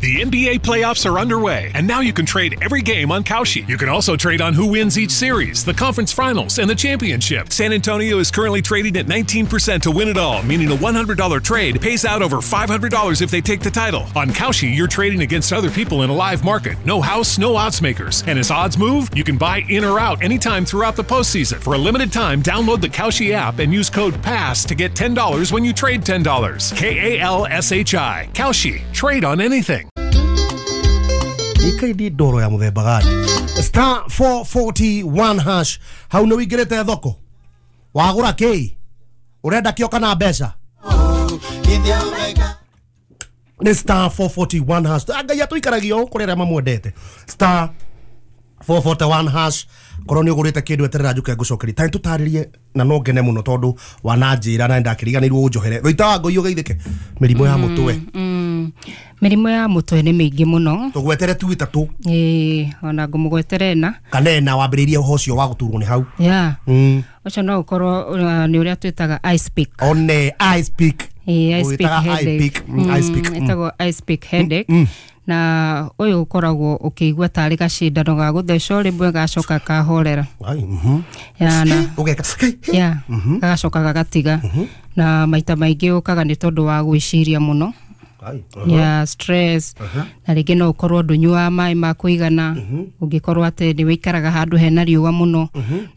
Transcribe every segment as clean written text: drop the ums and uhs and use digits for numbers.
The NBA playoffs are underway, and now you can trade every game on Kalshi. You can also trade on who wins each series, the conference finals, and the championship. San Antonio is currently trading at 19% to win it all, meaning a $100 trade pays out over $500 if they take the title. On Kalshi, you're trading against other people in a live market. No house, no odds makers. And as odds move, you can buy in or out anytime throughout the postseason. For a limited time, download the Kalshi app and use code PASS to get $10 when you trade $10. Kalshi. Kalshi. Trade on anything. Ikaidi ndoro ya muthemba gani? Star 441 hash. Hau nĩ wĩingĩrĩte thoko? Wagũra kĩ? Ũrenda kĩo kana mbeca? Nĩ star 441 hash. Ngai atũikaragia ũũ kũrĩ arĩa mamwendete. Star 441 hash. Korwo nĩ ũgũrĩte kĩndũ eterera njũke ngũcokerie. Ta nĩtũtarĩrie na no ngene mũno tondũ wananjĩra na nĩndakĩriganĩirwo ũnjohere. Rũita wa ngũi ũgeithĩke. Mĩrimũ ya mũtwe. Mĩrimũ ya mũtwe nĩ mĩingĩ mũno. Tũgwetere tu ĩtatũ. Ĩĩ, ona ngũmũgwetere ĩna. Kana ĩna wambĩrĩirie ũhoro ũcio wa gũturwo nĩ hau. Yeah. Ũcio no ũkorwo nĩ ũrĩa twĩtaga ice pick. One ice pick. Ĩĩ, ice pick headache. Ice pick. Ĩtagwo ice pick headache. Na ũyũ ũkoragwo ũkĩigua tarĩ gacindano ga gũthecwo rĩmwe gacoka kahorera. Ya, gagacoka gagatiga. Na maita maingĩ ũkaga nĩ tondũ wa gwĩciria mũno. Ya stress. Na rĩngĩ no ũkorwo ndũnyuaga maĩ ma kũigana. Ũngĩkorwo atĩ nĩ wĩikaraga handũ hena riũa mũno,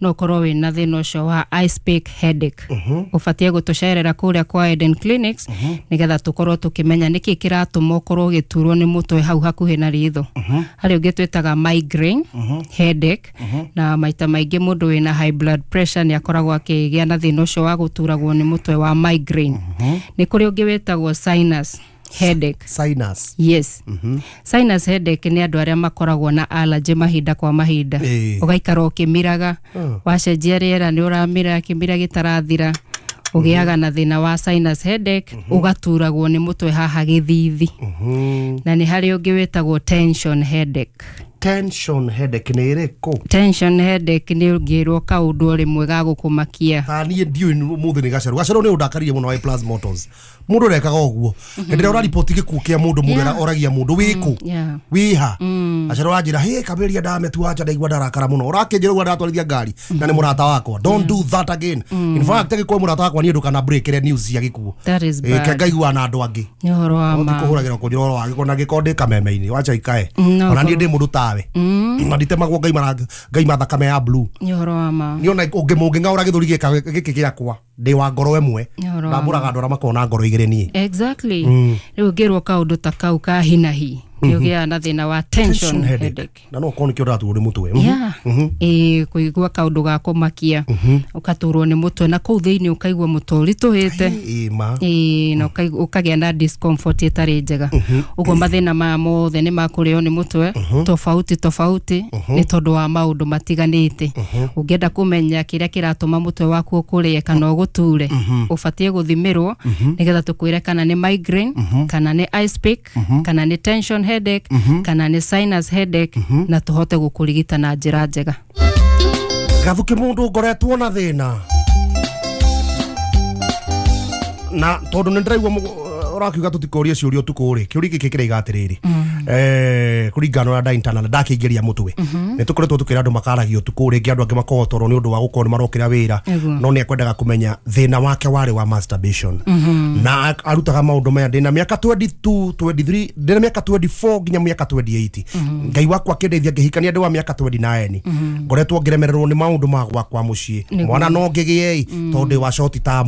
no ũkorwo wĩna thĩna ũcio wa ice pick headache. Ũbatiĩ gũtũcerera kũrĩa kwa Eden Clinics nĩgetha tũkorwo tũkĩmenya nĩkĩ kĩratũma ũkorwo ũgĩturwo nĩ mũtwe hau hakuhĩ na ritho. Harĩ ũngĩ twĩtaga migraine headache, na maita maingĩ mũndũ wĩna high blood pressure nĩ akoragwo akĩgĩa na thĩna ũcio wa gũturagwo nĩ mũtwe wa migraine. Nĩ kũrĩ ũngĩ wĩtagwo sinus headache. Sinus. Yes. Sinus headache nĩ andũ arĩa makoragwo na allergy mahinda kwa mahinda. Ũgaikara ũkĩmiraga, wacenjia rĩera nĩ ũramira kĩmira gĩtarathira, ũgĩaga na thĩna wa sinus headache, ũgaturagwo nĩ mũtwe haha gĩthithi. Na nĩ harĩ ũngĩ wĩtagwo tension headache. Tension headache nĩ ĩrĩkũ? Tension headache nĩ ũngĩrwo kaũndũ rĩmwe ga gũkũmakia. Ta niĩ ndiũĩ mũthĩ nĩ gacerũ. Gacerũ nĩ ũndakaririe mũno wa Plus Motors. Mũndũ ũrekaga ũguo. Hĩndĩ ĩrĩa ũrariboti gĩkuũ kĩa mũndũ, mũndũ oragia mũndũ wĩkũ? Wĩha? Gacerũ anjĩra, "Hĩ, Kaberia ndametua anja ndaigua ndarakara mũno." Ũrakĩnjĩra ũguo ndatwarithia ngari na nĩ mũrata wakwa. Don't do that again. In fact, angĩkorwo mũrata wakwa niĩ ndũkana breakere news cia gĩkuũ. That is bad. Ke ngaiguana na andũ angĩ. Nĩ ũhoro wa ma. Ũtikũhũragĩra kũnjĩra ũhoro wa gĩko na gĩko ndĩ kameme-inĩ. Wacha ikae. Ona niĩ ndĩ mũndũ tawe. Na nditemagwo ngaima thakame ya blue. Nĩ ũhoro wa ma. Niĩ ona ũngĩng'aũra gĩthũri gĩkĩ gĩakwa ndĩ wa ngoro ĩmwe. Ndambũraga andũ arĩa makoragwo na ngoro igĩrĩ niĩ. Exactly. Rĩu ũngĩrwo kaũndũ ta kau ka hinahi nĩ ũgĩaga na thĩna wa tension headache. Na no ũkorwo nĩkĩo ndĩraturwo nĩ mũtwe. Ĩĩ, kũigua kaũndũ ga kũmakia, ũgaturwo nĩ mũtwe na kũu thĩinĩ ũkaigua mũtwe ũritũhĩte. Ĩĩ, na ũkagĩa na discomfort ĩtarĩ njega. Ũguo mathĩna maya mothe nĩ makũrĩo nĩ mũtwe tofauti tofauti nĩ tondũ wa maũndũ matiganĩte. Ũngĩenda kũmenya kĩrĩa kĩratũma mũtwe waku ũkũrĩe kana ũgũture, ũbatiĩ gũthimĩrwo nĩgetha tũkwĩre kana nĩ migraine, kana nĩ ice pick, kana nĩ tension headache, kana nĩ sinus headache, na tũhote gũkũrigita na njĩra njega. Gathuki mũndũ ngoretwo na thĩna na tondũ nĩ ndĩraigua ũrakiuga tũtikũrie ciũria ũtukũ rĩ, kĩũria gĩkĩ kĩraiga atĩrĩrĩ, kũringana na internal ndakĩingĩria mũtwe, nĩ tũkoretwo tũkĩra andũ makaragia ũtukũ rĩngĩ andũ angĩ makoragwo toro nĩ ũndũ wa gũkorwo nĩ marokĩra wĩra, no nĩ ekwendaga kũmenya thĩna wake warĩ wa masturbation na arutaga maũndũ maya ndĩna mĩaka 22 23 ndĩna mĩaka 24 nginya mĩaka 28. Ngai wakwa akĩndeithia ngĩhikania ndĩ wa mĩaka 29. Ngoretwo ngĩremererwo nĩ maũndũ ma gwakwa mũciĩ, mwana no ngĩgĩe tondũ ndĩ wa short term.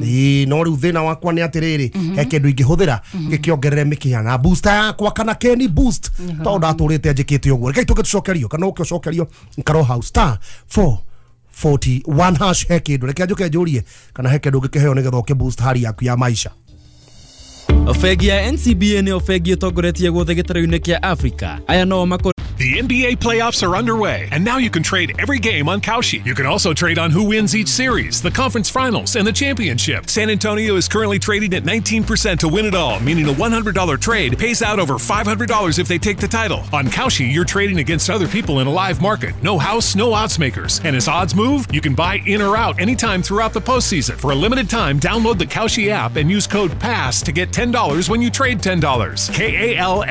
Ĩĩ, no rĩu thĩna wakwa nĩ atĩrĩrĩ, he kĩndũ ingĩhũthĩra gĩkĩongerere mĩkiha na booster yakwa kana Kenny boost tondũ ndatũrĩte njĩkĩte ũguo. Rekei tũke tũcokerio kana ũke ũcokerio Karo House star 441 hash he kĩndũ. Reke njũke njũrie kana he kĩndũ ũngĩkĩheo nĩgetha ũkĩ boost hali yaku ya maisha. Bengi ya NCBA nĩyo bengi ĩtongoretie guothe gĩtarũ-inĩ kĩa Africa. Aya no makor. The NBA playoffs are underway, and now you can trade every game on Kalshi. You can also trade on who wins each series, the conference finals, and the championship. San Antonio is currently trading at 19% to win it all, meaning a $100 trade pays out over $500 if they take the title. On Kalshi, you're trading against other people in a live market. No house, no odds makers. And as odds move, you can buy in or out anytime throughout the postseason. For a limited time, download the Kalshi app and use code PASS to get $10 when you trade $10. K A L